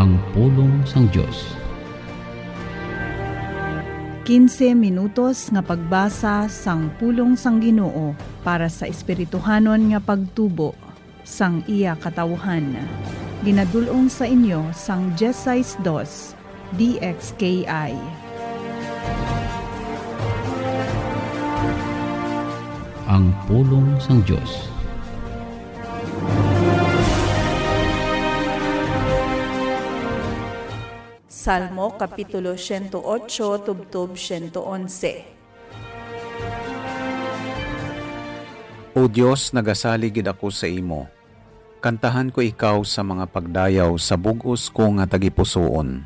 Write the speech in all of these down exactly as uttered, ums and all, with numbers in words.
Ang pulong sang Dios. Quince minutos nga pagbasa sang pulong sang Ginoo para sa espirituhanon nga pagtubo sang iya katawhan. Ginadul-ong sa inyo sang dieciséis dos D X K I. Ang pulong sang Dios. Salmo Kapitulo siyento ocho, tubtob siyento onse. O Dios, nagasalig gid ako sa imo. Kantahan ko ikaw sa mga pagdayaw sa bug-os ko nga tagipusoon.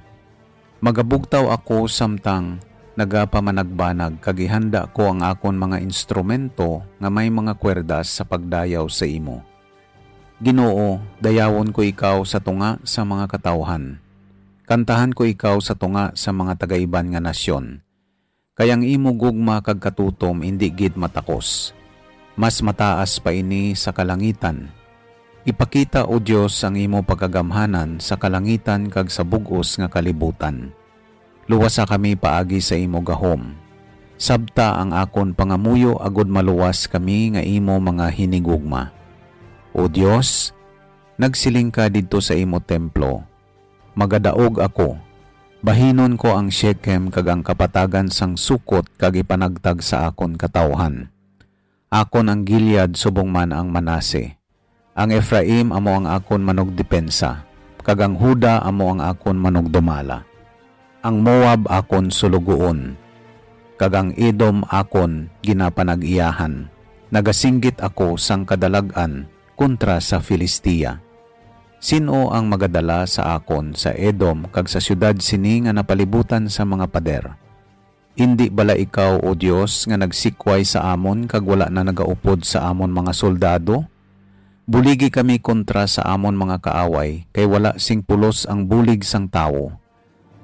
Magabugtaw ako samtang nagapamanagbanag, kag ihanda ko ang akon mga instrumento nga may mga kwerdas sa pagdayaw sa imo. Ginoo, dayawon ko ikaw sa tunga sa mga katawuhan. Kantahan ko ikaw sa tunga sa mga tagaiban nga nasyon. Kay ang imo gugma kag katutom indi gid matakos. Mas mataas pa ini sa kalangitan. Ipakita, O Dios, ang imo pagkagamhanan sa kalangitan kag sa bug-os nga kalibutan. Luwasa kami paagi sa imo gahom. Sabta ang akon pangamuyo agod maluwas kami nga imo mga hinigugma. O Dios, nagsiling ka didto sa imo templo, "Magadaog ako. Bahinon ko ang Shechem kag ang kapatagan sang Sukot kag ipanagtag sa akon katawhan. Akon ang Gilead subong man ang Manase. Ang Efraim amo ang akon manugdepensa, kag ang Juda amo ang akon manugdumala. Ang Moab akon sulugoon, kag ang Edom akon ginapanag-iyahan. Nagasinggit ako sang kadalag-an kontra sa Filistia. Sin-o ang magadala sa akon sa Edom kag sa siyudad sini nga napalibutan sa mga pader? Indi bala ikaw, O Dios, nga nagsikway sa amon kag wala na nagaupod sa amon mga soldado? Buligi kami kontra sa amon mga kaaway, kay wala sing pulos ang bulig sang tawo.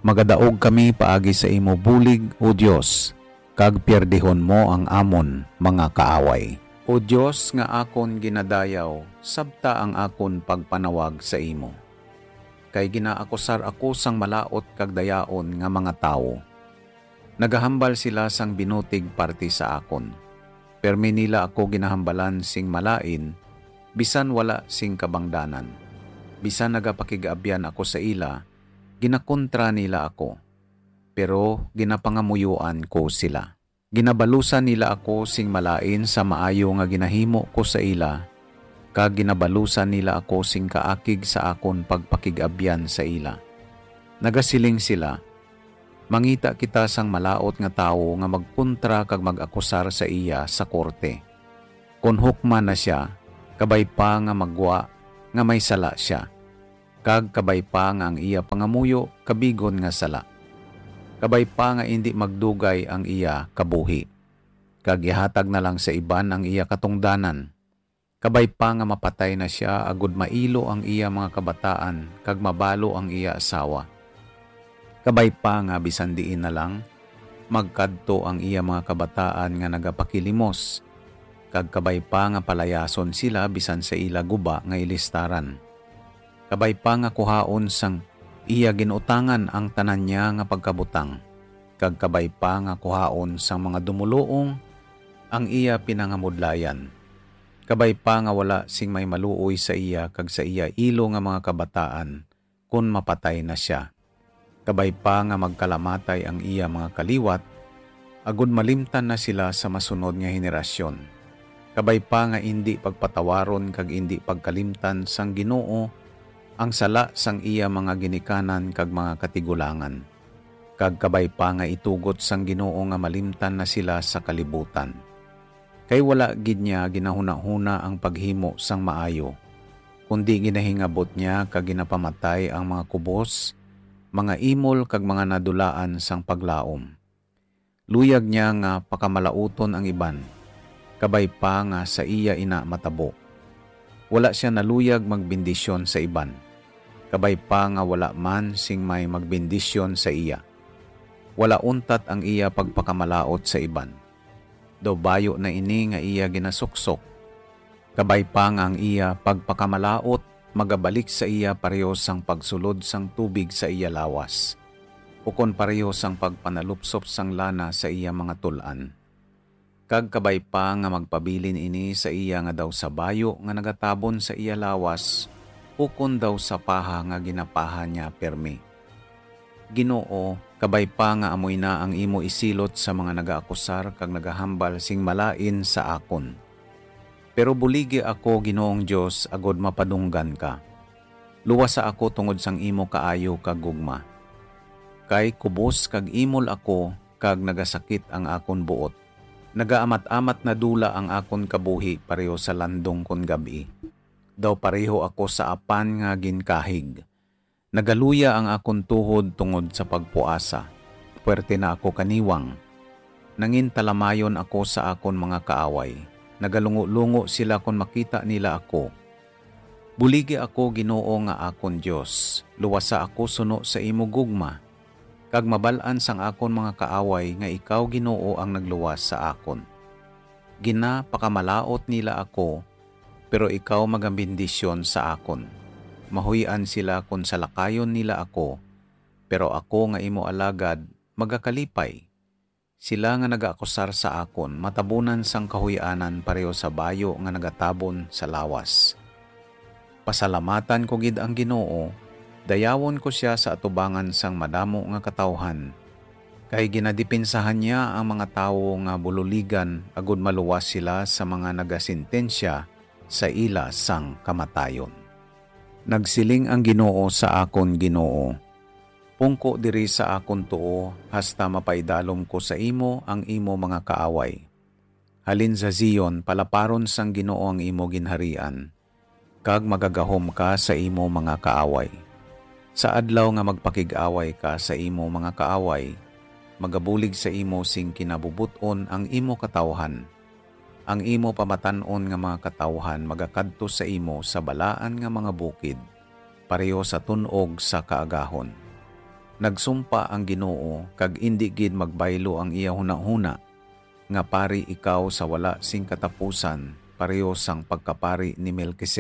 Magadaog kami paagi sa imo bulig, O Dios, kag pierdihon mo ang amon mga kaaway. O Dios nga akon ginadayaw, sabta ang akon pagpanawag sa imo. Kay ginaakusar ako sang malaut kag dayaon nga mga tawo. Nagahambal sila sang binutig parti sa akon. Pirme nila ako ginahambalan sing malain, bisan wala sing kabangdanan. Bisan nagapakig-abyan ako sa ila, ginakontra nila ako, pero ginapangamuyoan ko sila. Ginabalusan nila ako sing malain sa maayo nga ginahimo ko sa ila, kag ginabalusan nila ako sing kaakig sa akon pagpakig-abyan sa ila. Nagasiling sila, "Mangita kita sang malaut nga tawo nga magkontra kag mag-akusar sa iya sa korte. Kon hukman na sia, kabay pa nga maggwa nga may sala sia, kag kabay pa nga ang iya pangamuyo kabigon nga sala. Kabay pa nga indi magdugay ang iya kabuhi, kag ihatag na lang sa iban ang iya katungdanan. Kabay pa nga mapatay na sia agod mailo ang iya mga kabataan kag mabalo ang iya asawa. Kabay pa nga bisan diin na lang magkadto ang iya mga kabataan nga nagapakilimos, kag kabay pa nga palayason sila bisan sa ila guba nga ilistaran. Kabay pa nga kuhaon sang iya gin-utangan ang tanan niya nga pagkabutang, kag kabay pa nga kuhaon sang mga dumoluong ang iya pinangamudlayan. Kabay pa nga wala sing may maluoy sa iya kag sa iya ilo nga mga kabataan kon mapatay na sia. Kabay pa nga magkalamatay ang iya mga kaliwat, agod malimtan na sila sa masunod nga henerasyon. Kabay pa nga indi pagpatawaron kag indi pagkalimtan sang Ginoo ang sala sang iya mga ginikanan kag mga katigulangan. Kag kabay pa nga itugot sang Ginoo nga malimtan na sila sa kalibutan. Kay wala gid niya ginahunahuna ang paghimo sang maayo, kundi ginahingabot niya kag ginapamatay ang mga kubos, mga imol, kag mga nadulaan sang paglaom. Luyag niya nga pakamalaoton ang iban, kabay pa nga sa iya ina matabo. Wala sia naluyag magbendisyon sa iban, kabay pa nga wala man sing may magbendisyon sa iya. Wala untat ang iya pagpakamalaot sa iban, daw bayo na ini nga iya ginasuksok. Kabay pa nga ang iya pagpakamalaot magabalik sa iya pareho sang pagsulod sang tubig sa iya lawas, ukon pareho sang pagpanalupsop sang lana sa iya mga tul-an. Kag kabay pa nga magpabilin ini sa iya nga daw sa bayu nga nagatabon sa iya lawas, ukon daw sa paha nga ginapaha niya pirmi. Ginoo, kabay pa nga amo ina ang imo isilot sa mga nagaakusar kag nagahambal sing malain sa akon. Pero buligi ako, Ginoong Dios, agod mapadunggan ka. Luwasa ako tungod sang imo kaayo kag gugma. Kay kubos kag imol ako, kag nagasakit ang akon buot. Nagaamat-amat na dula ang akon kabuhi pareho sa landong kon gab-i. Daw pareho ako sa apan nga ginkahig. Nagaluya ang akon tuhod tungod sa pagpuasa. Puwerte na ako kaniwang. Nangintalamayon ako sa akon mga kaaway. Nagalungo-lungo sila kon makita nila ako. Buligi ako, Ginoo nga akon Dios. Luwasa ako suno sa imo gugma, kag mabal-an sang akon mga kaaway nga ikaw, Ginoo, ang nagluwas sa akon. Ginapakamalaut nila ako, pero ikaw magabendisyon sa akon. Mahuy-an sila kon salakayon nila ako, pero ako nga imo alagad magakalipay. Sila nga nagaakusar sa akon matabunan sang kahuy-anan pareho sa bayo nga nagatabon sa lawas. Pasalamatan ko gid ang Ginoo, dayawon ko sia sa atubangan sang madamo nga katawhan, kay ginadipinsahan niya ang mga tawo nga bululigan agod maluwas sila sa mga nagasentensya sa ila sang kamatayon. Nagsiling ang Ginoo sa akon, Ginoo, pungko diri sa akon tuo, hasta mapaidalom ko sa imo ang imo mga kaaway. Halin sa Zion, palaparon sang Ginoo ang imo ginharian, kag magagahom ka sa imo mga kaaway. Sa adlaw nga magpakig-away ka sa imo mga kaaway, magabulig sa imo sing kinabubot-on ang imo katawhan. Ang imo pamatan-on nga mga katawhan magakadto sa imo sa balaan nga mga bukid, pareho sa tun-og sa kaagahon. Nagsumpa ang Ginoo, kag indi gid magbaylo ang iya hunahuna, nga pari ikaw sa wala sing katapusan, pareho sang pagkapari ni Melquisedec.